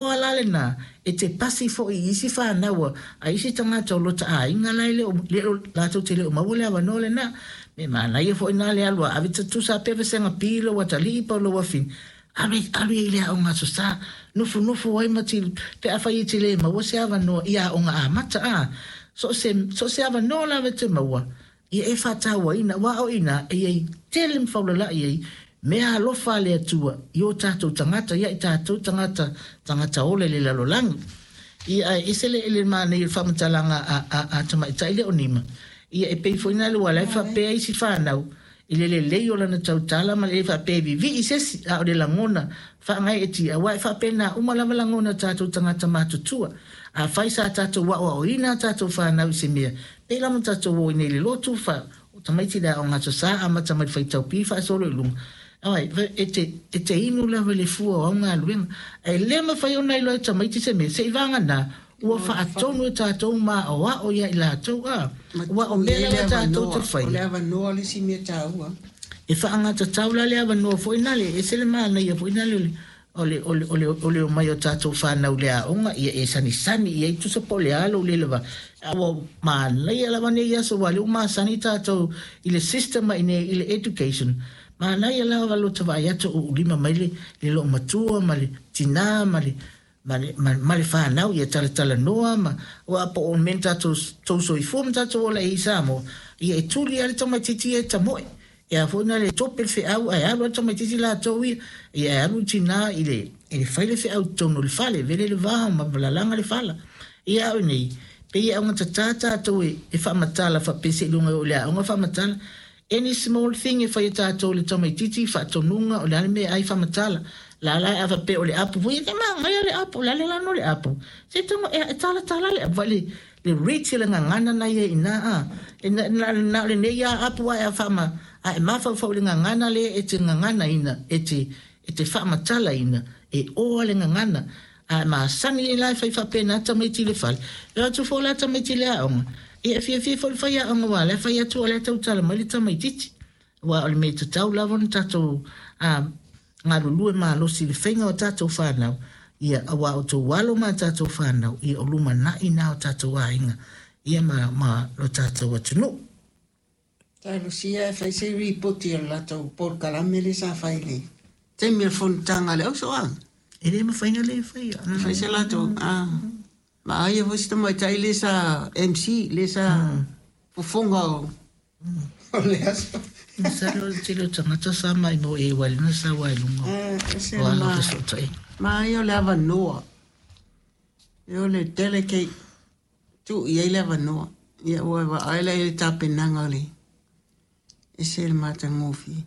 La lena e te pasi fo'i i isi fanau a isi tagata o lota aiga la e le o latou te le o maua le avanoa lena. Me manaia fo'i na le alu a ave tatusa pea vasega pi lou atalii po o lou afine, alu alu i le aoga Aso Sa, nofonofo ai ma ti pe afai e te lē maua se avanoa i aoga amata a so o se avanoa lava e te maua ia e faatauaina, aua o ina e iai tele ma faulala'i ai mea alofa a le Atua i o tatou tagata ia i tatou tagata tagata ola i le lalolagi. Ia ae ese le manaia o le faamatalaga a tamaitai le o nima ia e pei foi na le ua lae faapea isi fanau i le lelei o lana tautala ma le faapea vivii sesi a o le lagona faagae e tia aua e faapena uma lava lagona tatou tagata matutua. A fai sa tatou aoaoina a tatou fanau i se mea pei lava tatou o i nei le lotu fa o tamaiti le aoga Aso Sa amata mai le faitau pi faasolo i luga ai e te inu lava le fua o au galuega ae le mafai ona iloa e tamaiti se mea se'i vagana ua faatonu e tatou ma aoao ia i latou a ua o mea lava tatou te fai. O le avanoa le isi mea taua. E faagatatau la le avanoa foi na le ese le manaia foi na le o le omai o tatou fanau le aoga ia e sanisani ia i tusa po o le a lou le lava ua manaia lava nei aso ua le ua masani tatou i le system i nei i le education. Manaia lava lo ta vaai atu o ulima mai le loo matua ma le tinā ma le fanau ia talatalanoa ma ua po o mea tatou tou soifua ma tatou ola i Samoa ia e tuli a le tamaitiiti ia e tamoe ia foi na le tope le feau ae alu a le tamaitiiti latou ia ia e alu tinā i le fai le feau i totonu o le fale vele le va ma lalaga le fala ia au nei pei e augatatā tatou e faamatala faapea seiloga o le aoga faamatala. Any small thing e fai e tatou le tamaitiiti faatonuga o le a le mea ai faamatala la la a faapea o le apu foi e magaia le apu o le a le lano le apu se tonga e talatala le apu le reach le gagana na ia ina a e na le nei a apu a e faama a e mafaufau le gagana le e te gagana ina e te faamatala ina e oa le gagana a masani e la e fai faapena tamaiti le fale e atu fo la tamaiti le aoga ia e fiafia foi le fai aoga ua le fai atu o le tautala mai le tamaitiiti ua o le mea tatau lava ona tatou a galulue malosi le faiga o tatou fanau ia aua o tou alo ma tatou fanau ia o lumana'i na o tatou aiga ia ma lo tatou atunuu. Talosia e fai se ripoti o le latou polokalame le sa fai le taimi o le fonotaga a le ausoaga. E lē mafai na lē faia. Fai se latou a vaaia foi se tamaitai le sa MC le sa fofoga o le aso. Masalo o le tele o tagata sa mai mo e ua lena sa ua i luga ese o ala o fesootaiga. Ma ia o le avanoa e o le delegate tuu i ai le avanoa ia ua vaai la i le tapenaga o le ese le matagofie.